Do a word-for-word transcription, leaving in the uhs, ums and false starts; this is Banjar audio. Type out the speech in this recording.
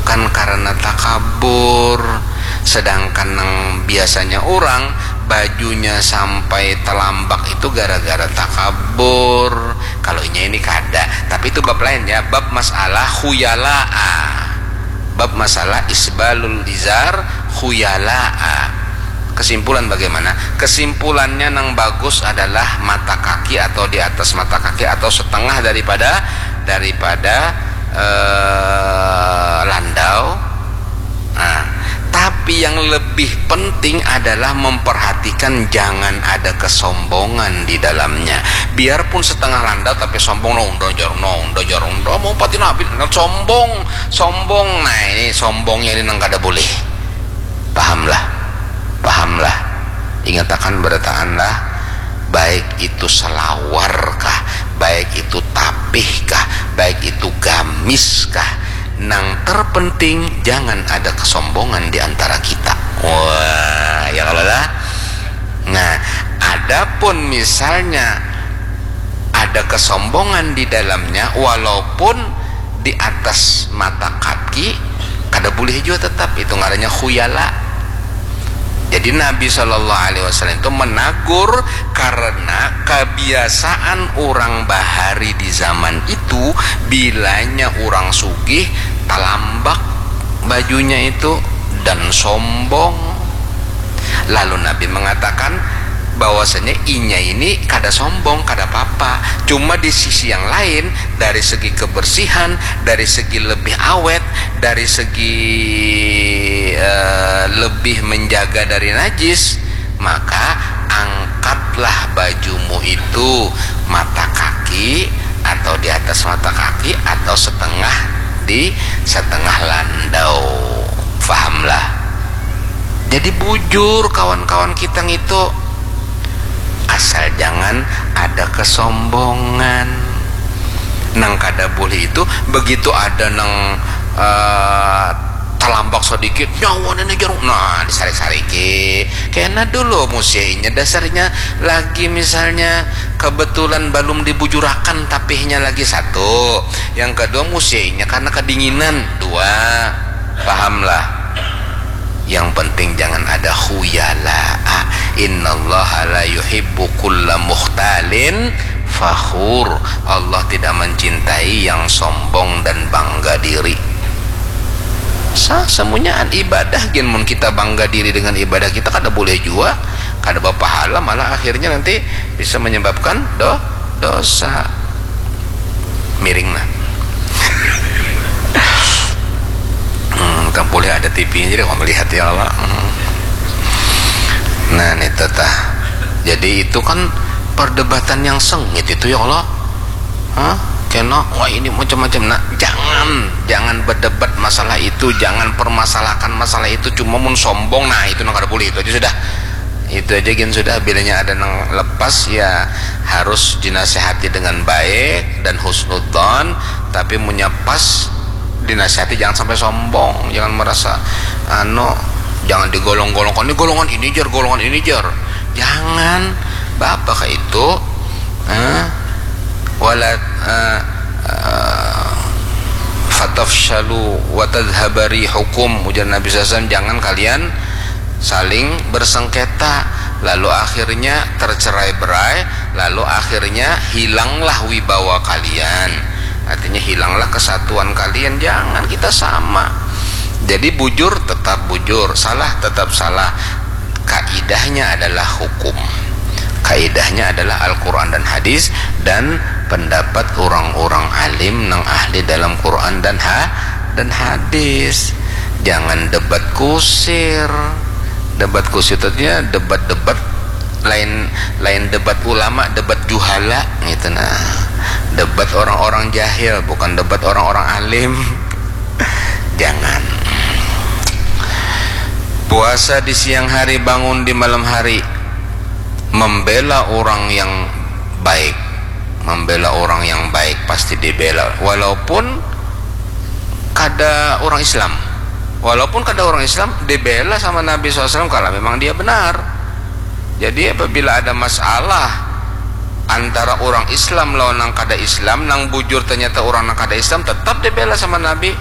Kan karena takabur. Sedangkan nang biasanya orang bajunya sampai telambak itu gara-gara takabur. Kalau inya ini kada, tapi itu bab lain ya, bab masalah khuyalaa, bab masalah isbalul izar khuyalaa. Kesimpulan bagaimana? Kesimpulannya, nang bagus adalah mata kaki atau di atas mata kaki atau setengah daripada daripada eh, landau. Nah, tapi yang lebih penting adalah memperhatikan jangan ada kesombongan di dalamnya. Biarpun setengah landau tapi sombong, no, undo jar, no, undo jar, undo, mau pati nabi, no, sombong, sombong. Nah, ini sombongnya ini nang kada boleh. Pahamlah, pahamlah. Ingatakan, berataanlah, baik itu salawar kah, baik itu tapih kah, baik itu gamis kah, nang terpenting jangan ada kesombongan di antara kita. Wah, ya kalau lah. Nah, adapun misalnya ada kesombongan di dalamnya, walaupun di atas mata kaki, kada boleh juga tetap, itu ngarannya khuyala. Jadi Nabi Shallallahu Alaihi Wasallam itu menagur karena kebiasaan orang bahari di zaman itu, bilanya orang sugih talambak bajunya itu dan sombong. Lalu Nabi mengatakan bahwasanya inya ini kada sombong, kada apa-apa. Cuma di sisi yang lain, dari segi kebersihan, dari segi lebih awet, dari segi eh, lebih menjaga dari najis, maka angkatlah bajumu itu mata kaki atau di atas mata kaki atau setengah di setengah landau. Fahamlah. Jadi bujur kawan-kawan kita ngitu, asal jangan ada kesombongan. Nang kada boleh itu begitu ada nang eh, talambak sedikit, nyawa nenek jarum, nah, disarik-sariki. Kena dulu musiainya, dasarnya lagi misalnya kebetulan belum dibujurakan tapihnya lagi, satu. Yang kedua, musiainya karena kedinginan, dua. Pahamlah. Yang penting jangan ada khuyala. Innallaha la yuhibbu kulla mukhtalin fakhur. Allah tidak mencintai yang sombong dan bangga diri. Sa semunyaan ibadah gin, mun kita bangga diri dengan ibadah kita, kada boleh jua, kada bapahala, malah akhirnya nanti bisa menyebabkan do dosa. Miring nah. Hmm, kan boleh ada T V-nya, jadi kau melihat, ya Allah. Hmm. Nah, ini tetah. Jadi itu kan perdebatan yang sengit itu, ya Allah. Hah? Kena, wah, ini macam-macam. Nah, jangan, jangan berdebat masalah itu, jangan permasalahkan masalah itu. Cuma mun sombong, nah, itu nang kada boleh, itu aja sudah. Itu aja gin sudah, bilanya ada nang lepas ya harus dinasihati dengan baik dan husnudzon, tapi munnya pas dinasihati jangan sampai sombong, jangan merasa anu, jangan digolong-golongkan, ini golongan ini jar, golongan ini jar. Jangan, bapak kayak itu. Eh? Wala eh, eh, fatafshalu wa tadhhaba rihukum, ujar Nabi sallallahu alaihi wasallam, jangan kalian saling bersengketa, lalu akhirnya tercerai berai, lalu akhirnya hilanglah wibawa kalian, artinya hilanglah kesatuan kalian. Jangan, kita sama. Jadi bujur tetap bujur, salah tetap salah. Kaidahnya adalah hukum. Kaidahnya adalah Al-Quran dan hadis dan pendapat orang-orang alim nang ahli dalam Quran dan ha dan hadis. Jangan debat kusir. Debat kusir itu artinya debat-debat lain, lain debat ulama, debat juhala gitu, nah. Debat orang-orang jahil, bukan debat orang-orang alim. Jangan. Puasa di siang hari, bangun di malam hari, membela orang yang baik. Membela orang yang baik pasti dibela, walaupun kada orang Islam. Walaupun kada orang Islam, dibela sama Nabi sallallahu alaihi wasallam kalau memang dia benar. Jadi apabila ada masalah antara orang Islam lawan nang kada Islam, nang bujur ternyata orang nang kada Islam, tetap dibela sama Nabi,